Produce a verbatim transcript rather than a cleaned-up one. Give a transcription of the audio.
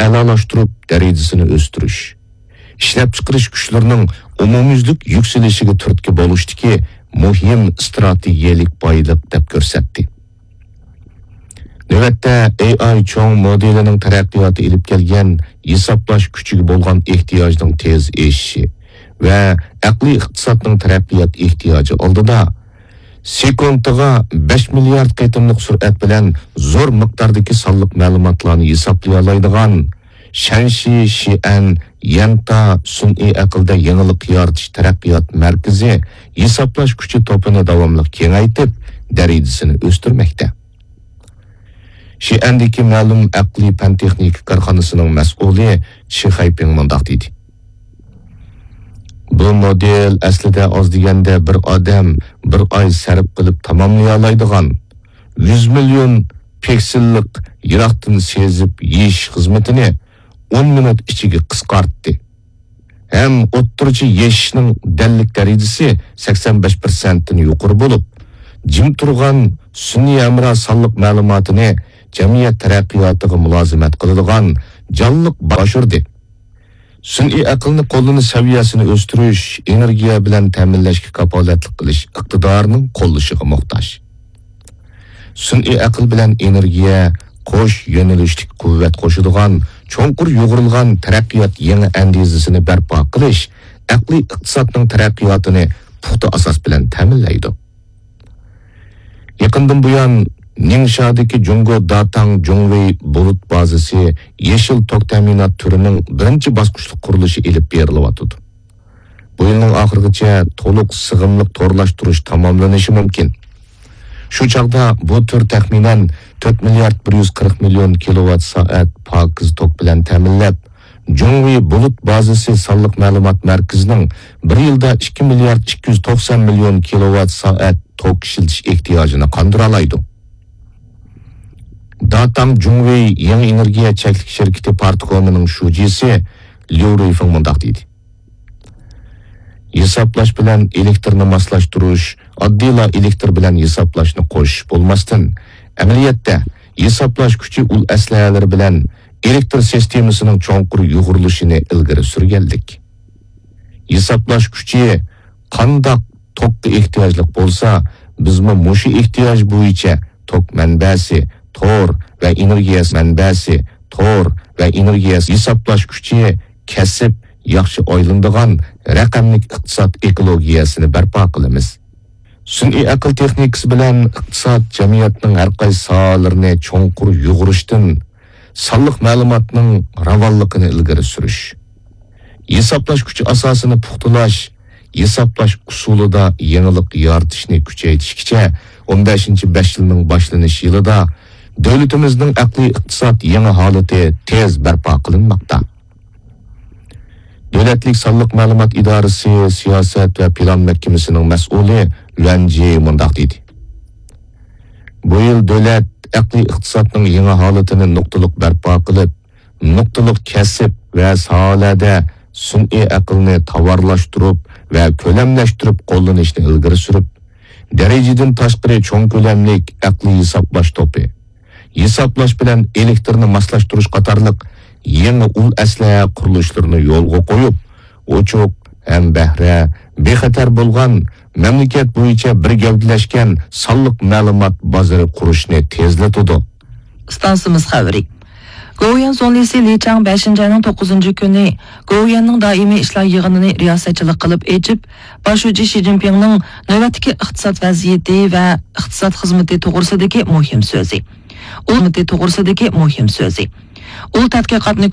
ئەلالاشتۇرۇپ، دەرىجىسىنى ئۆستۈرۈش، ئىشلەپچىقىرىش كۈچلىرىنىڭ ئومۇميۈزلۈك يۈكسىلىشىگە تۈرتكە بولۇشتىكى مۇھىم ئىستراتېگىيەلىك بايلىق دەپ كۆرسەتتى. نۆۋەتتە، ئېي ئاي چوڭ مودېلىنىڭ تەرەققىياتى ئېلىپ كەلگەن ھېسابلاش كۈچىگە بولغان ئېھتىياجنىڭ تېز ئېشىشى ۋە ئەقلىي ئىقتىسادنىڭ تەرەققىيات ئېھتىياجى ئالدىدا، سېكۇنتىغا بەش مىليارد قېتىملىق سۈرئەت بىلەن زور مىقداردىكى سانلىق مەلۇماتلارنى ھېسابلىيالايدىغان شەنشى شىئەن يەنتا سۈنئىي ئەقىلدە يېڭىلىق يارىتىش تەرەققىيات مەركىزى ھېسابلاش كۈچى توپىنى داۋاملىق كېڭەيتىپ، دەرىجىسىنى ئۆستۈرمەكتە. شىئەندىكى مەلۇم ئەقلىي پەن تېخنىكا كارخانىسىنىڭ مەسئۇلى چى خەيپىڭ مۇنداق دېدى: بۇ مودېل ئەسلىدە ئاز دېگەندە بىر ئادەم بىر ئاي سەرپ قىلىپ تاماملىيالايدىغان يۈز مىليون پىكسېللىق يىراقتىن سېزىپ يېشىش خىزمىتىنى ئون مىنۇت ئىچىگە قىسقارتتى ھەم ئوتتۇرىچە يېشىشنىڭ دەللىك دەرىجىسى سەكسەن بەش پىرسەنتتىن يۇقىرى بولۇپ، جىم تۇرغان سۈنئىي ھەمراھ سانلىق مەلۇماتىنى جەمئىيەت تەرەققىياتىغا مۇلازىمەت قىلىدىغان جانلىق باشۇردى. سۈنئىي ئەقىلنى قوللىنىش سەۋىيەسىنى ئۆستۈرۈش، ئېنېرگىيە بىلەن تەمىنلەشكە كاپالەتلىك قىلىش ئىقتىدارىنىڭ قوللىشىغا موھتاج. سۈنئىي ئەقىل بىلەن ئېنېرگىيە قوش يۆنىلىشلىك قۇۋۋەت قوشىدىغان چوڭقۇر يۇغۇرۇلغان تەرەققىيات يېڭى ئەندىزىسىنى بەرپا قىلىش ئەقلىي ئىقتىسادنىڭ تەرەققىياتىنى پۇختا ئاساس بىلەن تەمىنلەيدۇ. يېقىندىن بۇيان، نىڭشادىكى جۇڭگو داتاڭ جۇڭۋېي بۇلۇت بازىسى يېشىل توك تەمىنات تۈرىنىڭ بىرىنچى باسقۇچلۇق قۇرۇلۇشى ئېلىپ بېرىلىۋاتىدۇ. بۇ يىلنىڭ ئاخىرىغىچە تولۇق سىغىملىق تورلاشتۇرۇش تاماملىنىشى مۇمكىن. شۇ چاغدا بۇ تۈر تەخمىنەن تۆت مىليارد بىر يۈز قىرىق مىليون كىلوۋات سائەت پاكىز توك بىلەن تەمىنلەپ، جۇڭۋېي بۇلۇت بازىسى سانلىق مەلۇمات مەركىزىنىڭ بىر يىلدا ئىككى مىليارد ئىككى يۈز توقسان مىليون كىلوۋات سائەت توك ئىشلىتىش ئېھتىياجىنى قاندۇرالايدۇ. داتاڭ جۇڭۋېي يېڭى ئېنېرگىيە چەكلىك شىركىتى پارتكومىنىڭ شۇجىسى ليۇ رۇيفېڭ مۇنداق دېدى: ھېسابلاش بىلەن ئېلېكتىرنى ماسلاشتۇرۇش ئاددىيلا ئېلېكتىر بىلەن ھېسابلاشنى قوشۇش بولماستىن، ئەمەلىيەتتە ھېسابلاش كۈچى ئۇل ئەسلىھەلىرى بىلەن ئېلېكتىر سىستېمىسىنىڭ چوڭقۇر يۇغۇرۇلۇشىنى ئىلگىرى سۈرگەنلىك. ھېسابلاش كۈچى قانداق توكقا ئېھتىياجلىق بولسا، بىزمۇ مۇشۇ ئېھتىياج بويىچە توك مەنبەسى، تور ۋە ئېنېرگىيە مەنبەسى، تور ۋە ئېنېرگىيە ھېسابلاش كۈچى، كەسىپ، ياخشى ئايلىنىدىغان رەقەملىك ئىقتىساد ئېكولوگىيەسىنى بەرپا قىلىمىز. سۈنئىي ئەقىل تېخنىكىسى بىلەن ئىقتىساد، جەمئىيەتنىڭ ھەر قايسى ساھەلىرىنى چوڭقۇر يۇغۇرۇشتىن، سانلىق مەلۇماتنىڭ راۋانلىقىنى ئىلگىرى سۈرۈش، ھېسابلاش كۈچى ئاساسىنى پۇختىلاش، ھېسابلاش ئۇسۇلىدا يېڭىلىق يارىتىشنى كۈچەيتىشكىچە ئون بەشىنچى بەش يىلنىڭ باشلىنىش يىلىدا دۆلىتىمىزنىڭ ئەقلىي ئىقتىساد يېڭى ھالىتى تېز بەرپا قىلىنماقتا. دۆلەتلىك سانلىق مەلۇمات ئىدارىسى سىياسەت ۋە پىلان مەھكىمىسىنىڭ مەسئۇلى لۈەن جى مۇنداق دېدى: بۇ يىل دۆلەت ئەقلىي ئىقتىسادنىڭ يېڭى ھالىتىنى نۇقتىلىق بەرپا قىلىپ، نۇقتىلىق كەسىپ ۋە ساھەلەردە سۈنئىي ئەقىلنى تاۋارلاشتۇرۇپ ۋە كۆلەملەشتۈرۈپ قوللىنىشنى ئىلگىرى سۈرۈپ، دەرىجىدىن تاشقىرى چوڭ كۆلەملىك ئەقلىي ھېسابلاش توپى، ھېسابلاش بىلەن ئېلېكتىرنى ماسلاشتۇرۇش قاتارلىق يېڭى ئۇل ئەسلىھە قۇرۇلۇشلىرىنى يولغا قويۇپ، ئوچۇق، ھەمبەھرە، بىخەتەر بولغان، مەملىكەت بويىچە بىر گەۋدىلەشكەن سانلىق مەلۇمات بازىرى قۇرۇشنى تېزلىتىدۇ. ئىستانسىمىز خەۋىرى. گوۋۇيۈەن زۇڭلىسى لى چاڭ بەشىنچى ئاينىڭ توققۇزىنچى كۈنى گوۋۇيۈەننىڭ دائىمىي ئىشلار يىغىنىنى رىياسەتچىلىك قىلىپ ئېچىپ، باش شۇجى شى جىنپىڭنىڭ نۆۋەتتىكى ئىقتىساد ۋەزىيىتى ۋە ئىقتىساد خىزمىتى توغرىسىدىكى مۇھىم سۆزى. ئۇل توغرىسىدىكى مۇھىم سۆزى. ئۇل تەتقىقاتنى